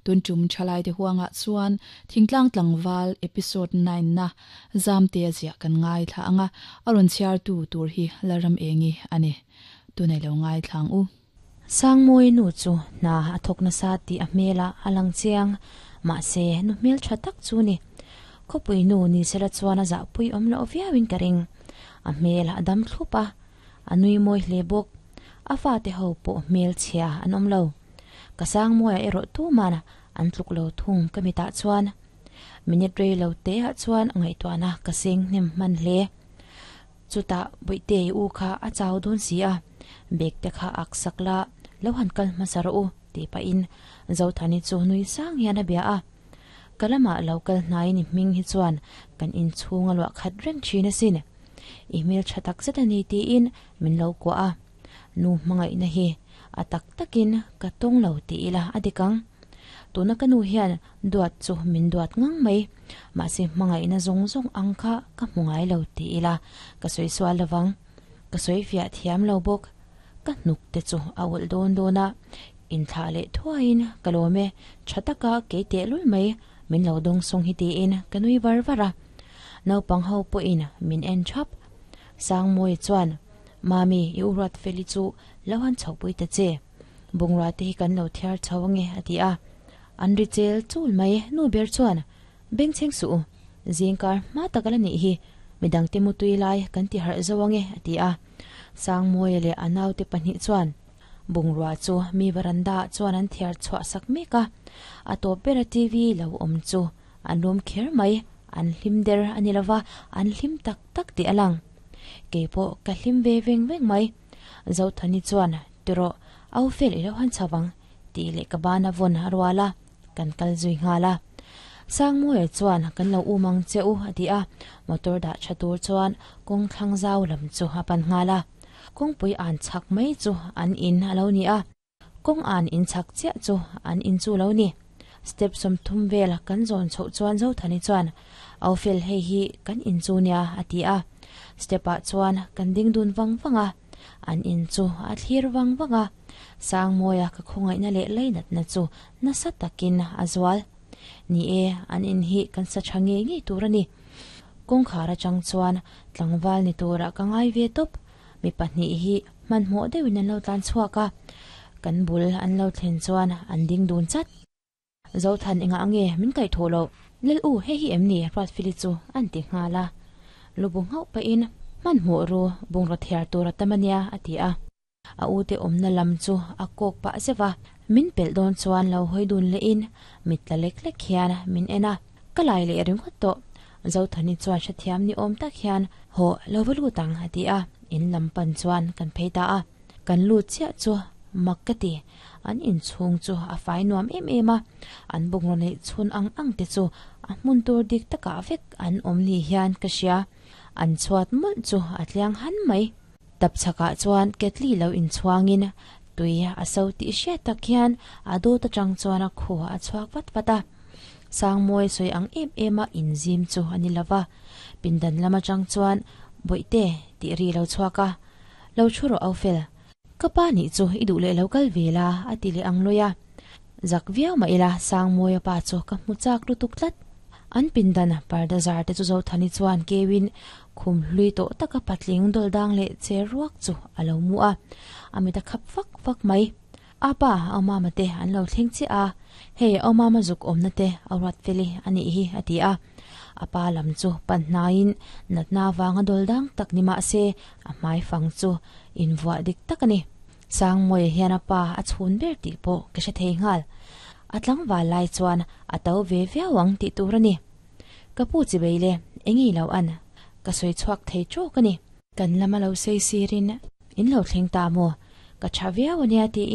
Tun tum thalaite huangah chuan Thingtlang Tlangval Episode 9 na Zamtea ziah kan ngaithla anga, a rawn chhiartu tur hi Lalramengi a ni. Tunei lo ngaithla ang u. Sangmawi nu chu hna a thawk nasa tih a hmelah a lang chiang, mahse nu hmel tha tak chu ni. Khawpui nu ni sela chuan a zahpui awm loh viauin ka ring. A hmel a dam thlup a, a nui mawi hle bawk. A fate ho pawh hmel chhia an awm lo. Ka Sangmawia erawh tuman an tluk lo thung ka mitah chuan. Minute rei lo te ah chuan ngaihtuahna ka seng hnem hman hle. Chutah Bawihte i u kha a chau dawn si a, bag te kha ak sak la, lo han kal hmasa rawh u, tih pahin Zothani chu nui sang hian a bia a. Ka lamah lo kal hnaiin i hming hi chuan kan inchhung a luah khat reng thin asin. I hmel tha tak zet a ni tiin min lo kuah a. Nu hmangaihna hi a tak takin ka tawng lo ti ila a dik ang. Tuna ka nu hian duat chu min duat ngang mai, mahse hmangaihna zawng zawng ang kha ka hmu ngai lo ti ila ka sawi sual lovang. Ka sawi fiah thiam lo bawk. Ka hnuk te chu a ulh dawn dawn a, inthlah leh thuaiin ka lawm e, tha taka kei tehlul mai min lo dawng sawng hi tiin ka nui var var a. Naupang ho pawhin min en thap. Sangmawi chuan, Mami, i u Ruatfeli chu lo han chhohpui ta che. Bungrua te hi kan lo thiar chho ange a ti a. An ri chel chul mai. Nu ber chuan, Bengchheng suh u, zingkar hma tak a la nih hi, midangte mutui lai kan ti harh zo ange a ti a. Sangmawia leh a naute pahnih chuan bungrua chu mi varanda ah chuan an thiar chhuah sak mek a. A tawp bera TV lo awm chu an lawm kher mai, an hlim der a ni lova, an hlim tak tak tih a lang. Keipawh ka hlim ve veng veng mai. Zothani chuan, Tirawh, au fel i lo han chho ang, tih leh ka bana vawn a rual a, kan kal zui nghal a. Sangmawia chuan, Kan lo um ang che u, a ti a, motor dah tha tur chuan kawng thlang zau lam chu a pan nghal a. Kawngpui an chhak mai chu an in a lo ni a. Kawng an in chhak chiah chu an in chu lo ni. Step 30 vel kan zawn chhoh chuan Zothani chuan, Au fel hei hi kan in chu nia, a ti a. Step ah chuan kan ding dun vang vang a, an in chu a thlir vang vang a. Sangmawia ka khawngaihna leh leinatna chu nasa takin a zual. Ni e, an in hi kan sa tha ngei ngei tur a ni. Kawngkhar atang chuan tlangval ni turah ka ngai ve tawp. Mi pahnih hi hmanhmawh deuhin an lo tlan chhuak a, kan bul an lo thlen chuan an ding dun chat. Zothan engah nge min kaih thawh loh? Lal u, hei hi em ni? Ruatfili chu an ti nghal a. Lu bu nghauh pahin, Hmanhmawh ru, bungraw thiar tur a tam a nia, a ti a. A ute awmna lam chu a kawk pah zeuh a, min pelh dawn chuan lo hawi dun lehin mit tla lek lek hian min en a, ka lai leh ringawt tawh. Zothani chuan hrethiam ni awm tak hian, Hawh, lo va lut ang, a ti a, in lam pan chuan kan phei ta a. Kan lut chiah chu mak ka ti, an inchhung chu a fai nuam em em a, an bungraw neih chhun ang ang te chu a hmun tur dik takah vek an awm ni hian ka hria. An chhuat mawlh chu a tliang han mai. Tap chhakah chuan ketli lo inchhuangin tui a so tih hriat tak hian a dawt atang chuan a khu a chhuak vat vat a. Sangmawi sawi ang em em a inzim chu a ni lova, pindan lam atang chuan Bawihte tih ri lo chhuak a, Lo thu rawh Aufel, ka pa nih chu i duh leh lo kal ve la a ti leh ang lawi a. Zak viau mah ila Sangmawia pa chu ka hmu chak lutuk tlat. An pindan parda zar te chu Zothani chuan keuin khum hlui tawh taka patling dawl dang leh che ruak chu a lo mu a, a mit a khap fak fak mai. A pa, au mama te an lo thleng chiah a, hei au mama zuk awmna te a ruat fel i a nih hi a ti a. A pa lam chu pan hnaiin natna vanga dawl dang tak ni mah se a hmai fang chu invuah dik tak a ni. Sangmawia hian a pa a chhun ber tih pawh ka hre thei nghal. A tlangval lai chuan a to ve viau ang tih tur a ni. Ka pu chi bei le, eng i lo an? Ka sawi chhuak thei trawk a ni. Kan lama lo sei sirin in lo thleng ta maw? Ka tha viau a nia tiin.